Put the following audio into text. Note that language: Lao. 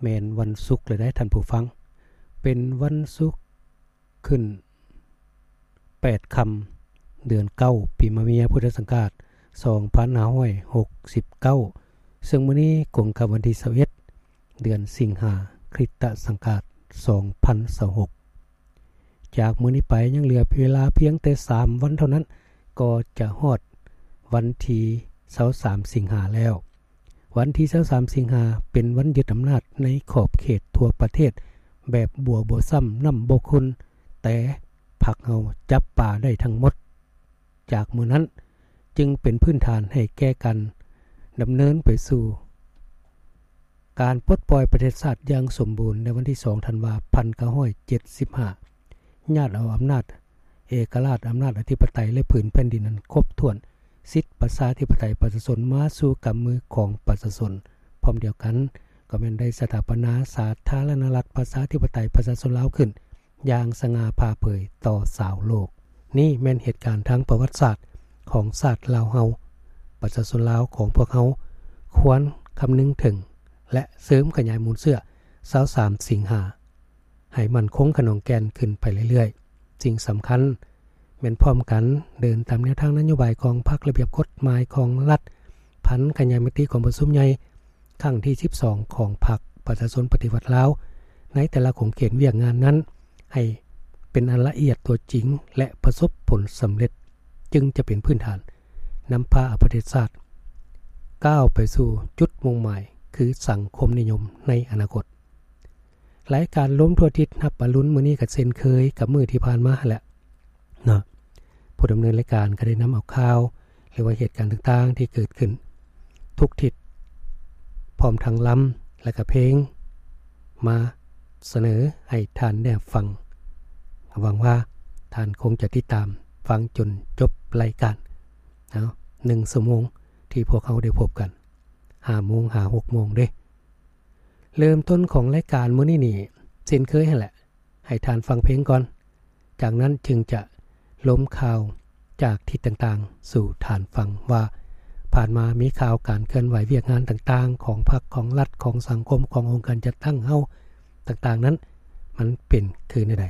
ແມ່ນວັນສຸກແລ້ວເດ້ທ່ານຜູ້ຟັງ, ເປັນວັນສຸກຂຶ້ນແປດຄ່ຳ ເດືອນເກົ້າ ປີມະເມຍ ພຸດທະສັງກາດ ສອງພັນຫ້າຮ້ອຍຫົກສິບເກົ້າ ເຊິ່ງມື້ນີ້ກົງກັບວັນທີ ຊາວເອັດ ເດືອນສິງຫາ ຄຣິສຕະສັງກາດ ສອງພັນຊາວຫົກ. ຈາກມື້ນີ້ໄປຍັງເຫຼືອເວລາພຽງແຕ່ສາມວັນເທົ່ານັ້ນ ກໍຈະຮອດວັນທີ ຊາວສາມ ສິງຫາແລ້ວ. ວັນທີ ຊາວສາມ ສິງຫາ ເປັນວັນຍຶດອຳນາດໃນຂອບເຂດທົ່ວປະເທດແບບບົວບໍ່ຊ້ຳນ້ຳບໍ່ຂຸ່ນ, ແຕ່ພັກເຮົາຈັບປາໄດ້ທັງໝົດ. ຈາກມື້ນັ້ນຈຶ່ງເປັນພື້ນຖານໃຫ້ແກ່ການດຳເນີນໄປສູ່ການປົດປ່ອຍປະເທດຊາດຢ່າງສົມບູນໃນວັນທີ ສອງ ທັນວາ ພັນເກົ້າຮ້ອຍເຈັດສິບຫ້າ ຍາດເອົາອຳນາດເອກະລາດ, ອຳນາດອະທິປະໄຕ ແລະ ຜືນແຜ່ນດິນອັນຄົບຖ້ວນ, ສິດປະຊາທິປະໄຕປະຊາຊົນມາສູ່ກຳມືຂອງປະຊາຊົນ. ພ້ອມດຽວກັນກໍແມ່ນໄດ້ສະຖາປະນາສາທາລະນະລັດປະຊາທິປະໄຕປະຊາຊົນລາວຂຶ້ນຢ່າງສະຫງ່າຜ່າເຜີຍຕໍ່ຊາວໂລກ. ນີ້ແມ່ນເຫດການທາງປະຫວັດສາດຂອງຊາດລາວເຮົາ. ປະຊາຊົນລາວຂອງພວກເຮົາຄວນຄຳນຶງເຖິງ ແລະ ເສີມຂະຫຍາຍມູນເຊື້ອ ຊາວສາມ ສິງຫາ ໃຫ້ໝັ້ນຄົງຂະໜອງແກ່ນຂຶ້ນໄປເລື້ອຍໆ. ສິ່ງສຳຄັນແມ່ນພ້ອມກັນເດີນຕາມແນວທາງນະໂຍບາຍຂອງພັກ, ລະບຽບກົດໝາຍຂອງລັດ, ຜັນຂະຫຍາຍມະຕິກອງປະຊຸມໃຫຍ່ຄັ້ງທີ ສິບສອງ ຂອງພັກປະຊາຊົນປະຕິວັດລາວ ໃນແຕ່ລະຂົງເຂດວຽກງານນັ້ນ ໃຫ້ເປັນອັນລະອຽດຕົວຈິງ ແລະ ປະສົບຜົນສຳເລັດ, ຈຶ່ງຈະເປັນພື້ນຖານນຳພາເອົາປະເທດຊາດກ້າວໄປສູ່ຈຸດມຸ່ງໝາຍ ຄືສັງຄົມນິຍົມໃນອະນາຄົດ. ລາຍການລົມທົ່ວທິດຮັບອະລຸນມື້ນີ້ກໍເຊັ່ນເຄີຍກັບມື້ທີ່ຜ່ານມາຫັ້ນແຫຼະເນາະ. ຜູ້ດຳເນີນລາຍການກໍໄດ້ນຳເອົາຂ່າວ ຫຼືວ່າເຫດການຕ່າງໆທີ່ເກີດຂຶ້ນທຸກທິດ ພ້ອມທັງລຳ ແລະ ກະເພງມາສະເໜີໃຫ້ທ່ານໄດ້ຮັບຟັງ. ຫວັງວ່າທ່ານຄົງຈະຕິດຕາມຟັງຈົນຈົບລາຍການ. ເອົາ ໜຶ່ງຊົ່ວໂມງທີ່ພວກເຮົາໄດ້ພົບກັນ ຫ້າໂມງຫາຫົກໂມງເດ້. ເລີ່ມຕົ້ນຂອງລາຍການມື້ນີ້ນີ້ ເຊັ່ນເຄີຍຫັ້ນແຫຼະ ໃຫ້ທ່ານຟັງເພງກ່ອນ, ຈາກນັ້ນຈຶ່ງຈະລົມຂ່າວຈາກທິດຕ່າງໆສູ່ທ່ານຟັງວ່າ ຜ່ານມາມີຂ່າວການເຄື່ອນໄຫວວຽກງານຕ່າງໆຂອງພັກ, ຂອງລັດ, ຂອງສັງຄົມ, ຂອງອົງການຈັດຕັ້ງເຮົາຕ່າງໆນັ້ນ ມັນເປັນຄືແນວໃດ.